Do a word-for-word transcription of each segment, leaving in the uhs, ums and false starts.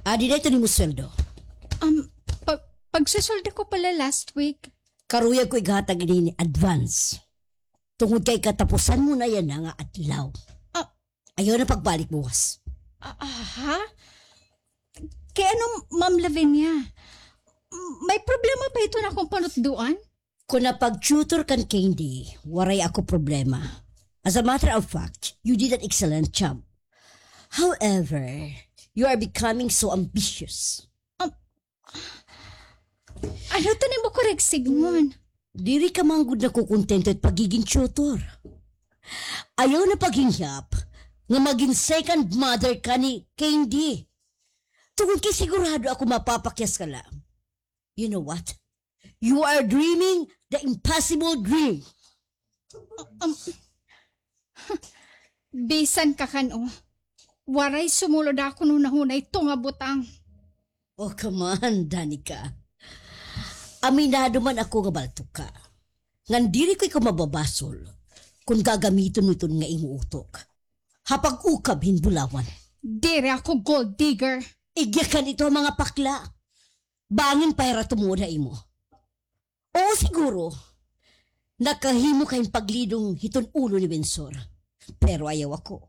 Adi na iton imo sweldo. Um, pa- pagsusuldo ko pala last week. Karuyag ko ighatag ini advance. Tungod kay katapusan mo na yana nga adlaw. Ah. Ayaw na pagbalik buwas. Ah, aha? Kay ano, Ma'am Lavinia? M- May problema ba iton akon panutdoan? Kon napag-tutor kan Candy, waray ako problema. As a matter of fact, you did an excellent job. However, you are becoming so ambitious. Um, ano ito nimo ko, Reg Sigmon? Diri ka man gud nakukontento it pagiging tutor. Ayaw na paghingyap nga magin second mother ka ni Candy. Tungod kay sigurado ako mapapakyas ka la. You know what? You are dreaming the impossible dream. Um, bisan ka kan-o, waray sumulod ha akon hunahuna ito nga butang. Oh, come on, Danica. Aminado man ako nga baltok ka. Ngan diri ko ikaw mababasol kon gagamiton mo iton nga imo utok ha pag-ukab hin bulawan. Diri ako gold digger. Igyakan ito ha mga pakla. Bangin pa hira tumod ha imo. Oo, siguro, nakahimo ka hin paglidong hiton ulo ni Winsor. Pero ayaw ako.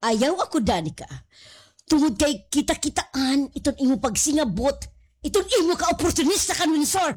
Ayaw ako, Danica. Tungod kay kita-kitaan iton imo pagsingabot, iton imo ka-oportunista kan Winsor.